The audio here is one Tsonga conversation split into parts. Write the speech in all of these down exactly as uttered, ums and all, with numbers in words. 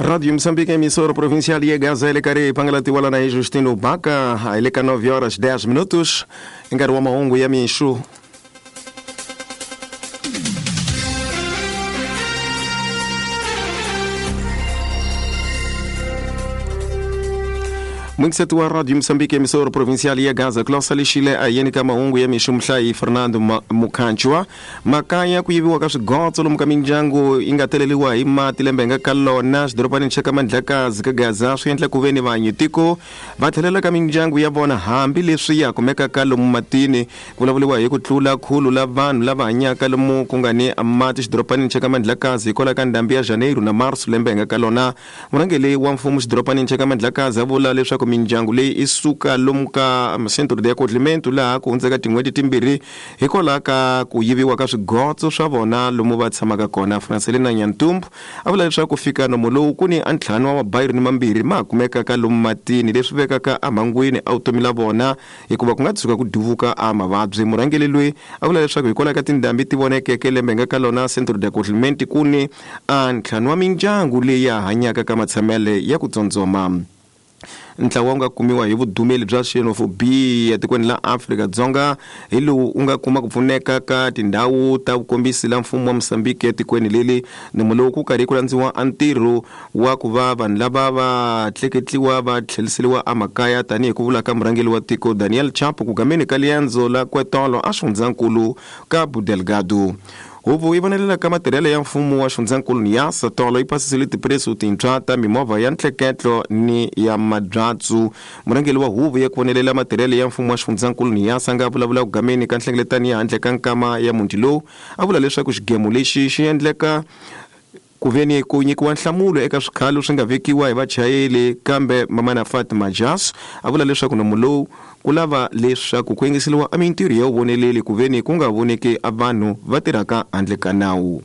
Rádio Moçambique, emissora provincial e Gaza, ele cari pangalatiwala na Justino Baca, ele ca nove horas dez minutos, engaruama ongo ya minxu. Muito cedo a Rádio Moçambique, emissora provincial e a Gaza, Closa Lixile, a Yenica Maungo e a Mixumhlai, Fernando Mukanchwa, Makaya, kuyiviwa ka swigotso lomu ka mindyangu yi nga teleliwa hi mati lembe nga ka lona xidorobanini xa ka Mandlakazi ka Gaza swi endla ku ve ni vanhu tiko va tlhelela ka mindyangu ya vona hambi leswi ya kumekaka lomu matini. Ku vulavuriwa hi ku tlula khulu la vanhu lava hanyaka lomu ku nga ni mati xidorobanini xa ka Mandlakazi hikwalaho ka ndhambi ya Janeiro na Marso lembe nga ka lona. Murhangeri wa mfumo xidorobanini xa ka Mandlakazi a vula leswaku mindyangu leyi i suka lomu ka Centro de Acolhimento laha ku hundzeka tin'hweti timbirhi hikwalaho ka ku yiviwa ka swigotso swa vona lomu va tshamaka kona. Francelina Nyantumbu a vula leswaku fika nomo lowu ku ni ntlhanu wa mabayiri ni mambirhi ma kumekaka lomu matini leswi vekaka emhangwini a vutomi la vona hikuva ku nga tshuka ku duvuka a mavabyi. Murhangeri loyi a vula leswaku hikwalaho ka tindhambi ti vonekeke lembe nga ka lona Centro de Acolhimento ku ni a ntlhanu wa mindyangu leyi ya hanyaka ka matshamele ya ku tsondzoma. Ntlawa wu nga kumiwa hi vudumeli bya xenophobia etikweni la Afrika-Dzonga hi lowu u nga kuma ku pfuneka ka tindhawu ta vukombisi la mfumo wa Mozambique etikweni leli. Nomo lowu ku karhi ku landziwa a ntirho wa ku va vanhu lava va tleketliwa va tlheliseriwa emakaya tanihi ku vula ka murhangeri wa tiko Daniel Chapo ku gameni ka liendzo la Kwetolo a xifundzankulu ka Delgado. Huvo yi vonelela ka matirhelo ya mfumo wa xifundzankulu Niassa tolo yi pasisile tipreso tintshwa ta mimovha ya ntleketlo ni ya mabyatsu. Murhangeri wa huvo ya ku vonelela matirhelo ya mfumo wa xifundzankulu Niassa nga vulavula ku gameni ka nhlengeletano ya handle ka nkama ya muti lowu a vula leswaku xigemu lexi xi endleka ku veni ku nyikiwa nhlamulo eka swikhalo swi nga vekiwa hi vachayeri kambe Mamana Fatima Jas a vula leswaku nomo lowu ku lava leswaku ku yingiseriwa a mintirho ya vuvoneleli ku veni ku nga voneki a vanhu va tirhaka handle ka nawu.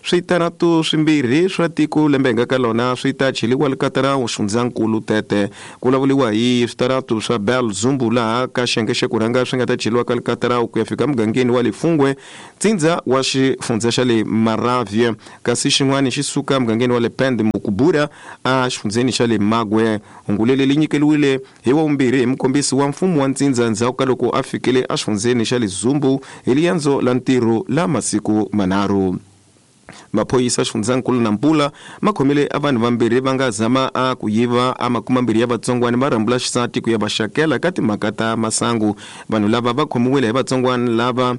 Switaratu swimbirhi swa tiko lembe nga ka lona swi ta cheliwa likatara xifundzankulu Tete. Ku vulavuriwa hi switaratu swa Bell Zumbu laha ka xiyenge xa ku rhanga swi nga ta cheliwa ka likatara ku ya fika mugangeni wa Lefungwe ntsindza wa xifundza xa le Maravye, kasi xin'wana xi suka mugangeni wa le Pende Mukubura a xifundzeni xa le Magwe. Hungu leri li nyikeriwile hi wa vumbirhi hi mukombisi wa mfumo wa ntsindza ndzhaku ka loko a fikile exifundzeni xa le Zumbu hi liendzo la ntirho la masiku manharhu. Maphoyisa xifundzankulu Nampula ma khomile a vanhu vambirhi va nga zama a ku yiva a makumambirhi ya vatsongwana va rhambula xisati ku ya va xakela ka timhaka ta masangu. Vanhu lava va khomiwile hi vatsongwana lava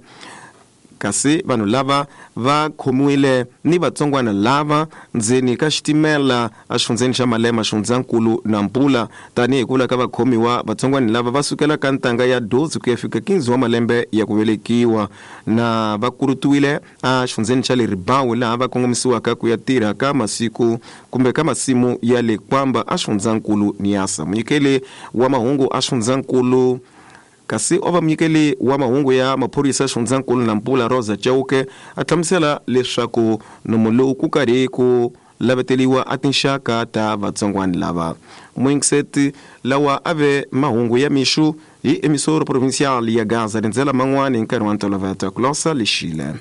kasi vanhu lava va khomiwile ni vatsongwana lava ndzeni ka xitimela exifundzeni xa Malema xifundzankulu Nampula. Tanihi ku vula ka vakhomiwa vatsongwana lava va sukela ka ntanga ya dozi ku ya fika quinze wa malembe ya ku velekiwa na va kurutiwile exifundzeni xa le Ribawu laha va kongomisiwaka ku ya tirha ka masiku kumbe ka masimu ya le Kwamba exifundzankulu Niassa. Munyikeli wa mahungu exifundzankulu kasi o va munyikeli wa mahungu ya maphorisa xifundzankulu Nampula Rosa Chauke a hlamusela leswaku nomo lowu ku karhi ku laveteliwa a tinxaka ta vatsongwana lava. Muingiseti lawa a ve mahungu ya mixu hi emisoro provincial ya Gaza rindzela man'wani hi nkarhi wa ntolovelo Closa Lixile.